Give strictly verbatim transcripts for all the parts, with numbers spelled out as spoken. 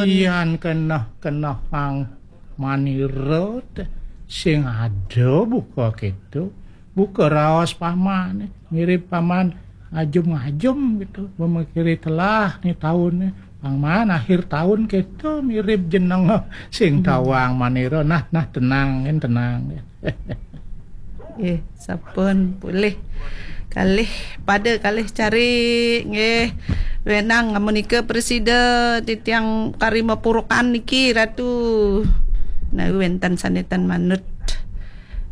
Yan keneh-keneh Pang Manira te sing ada buka kéto. Buka raos pamane, mirib paman ngajum-ngajum gitu, memikiri telah ni taun ni. Pang Man akhir taun kéto mirib jeneng sing tawang Manira. Nah, nah, tenang, Gen, tenang. Nggih, sampun polih. Kalih pada kalih cari nggih. Wenang menika presida titiang kari mapurukan niki Ratu. Nah, wenten sane tan manut.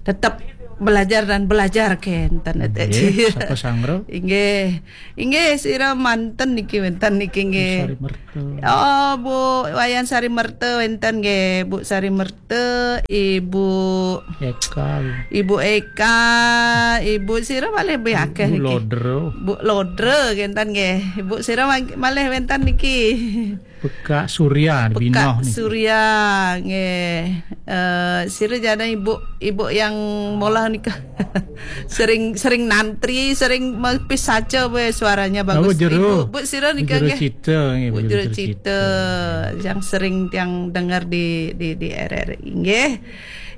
Tetap belajar dan belajar kenten. Nggih, sapa sangro? Inggih. Inggih, sira manten niki wenten niki nggih. Sari Merta. Oh, Bu Wayan Sari Merta wenten nggih, Bu Sari Merta, Ibu Eka. Ibu Eka, Ibu sira malih be akeh Bu niki. Lodro. Bu Lodro kenten nggih. Ibu sira mag- malih wenten niki. Pekak Surya Pekak Binoh niki. Surya nggih. Eh, sira jana ibu ibu yang molah nika. Sering sering nantri, sering mepis saja we suaranya bagus. Jero, Ibu, Bu sira nika Jero nggih. Cita nggih, Bu Jero Cita. Yang sering tiang dengar di di di R R I nggih.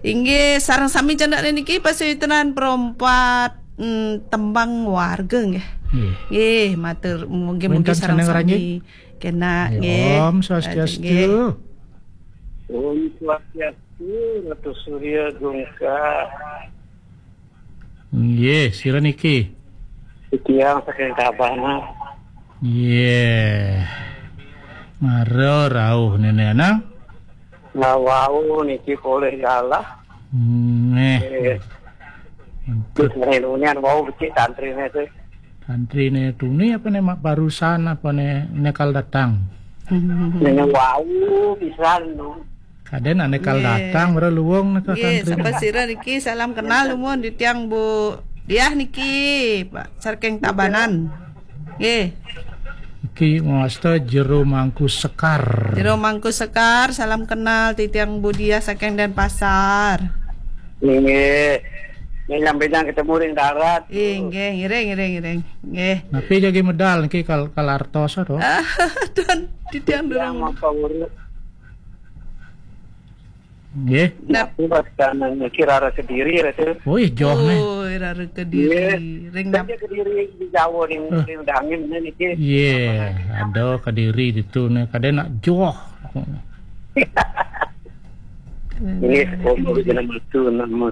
Inggih sareng sami cendakne niki pasuyutenan perompat mm, tembang warga nggih. Nggih. Nggih, matur mungkin mungkin Wenten sareng sandang sami. Ranjing? Kena Nggih, nggih. Om Swastiastu. Nggih. Om Swastiastu, Ratu Surya Gungka. Nggih, sira niki. Tiang saking Tabanan. Nggih. Mara rauh nene nang. Nah, wau niki polih galah. Nggih. Eh, Untuk terus ngenunian wau becik tantrine sih. Tantrine tuni apa ne mak barusan apa ne nekal datang? Nene wau pisan nu. Kaden anekal Nggih. Datang mara luwung neka Nggih, santri. Sapa sira niki salam kenal nuwun di tiang Bu Diah niki, Pak saking Tabanan. Nggih. Iki ngasta Jero Mangku Sekar. Jero Mangku Sekar, salam kenal titiang Bu Diah saking Denpasar. Nggih. Nek nyampe ketemu ring darat. Nggih, nggih, ngiring, ngiring, ngiring. Nggih. Napi jagi medal niki kal kalartos to? Tuan titiang durung. Nggih. Nap. Aku pas kanan niki rara Kediri, Ratu. Oh, ih, joh nih. Oh, rara Kediri. Nggih. Ring nap. Kediri di Jawa ning Eh. Ring Dangin niki. Iya, ada Kediri itu nih, kadang nak joh. Ini sepuluh jeneng itu nama.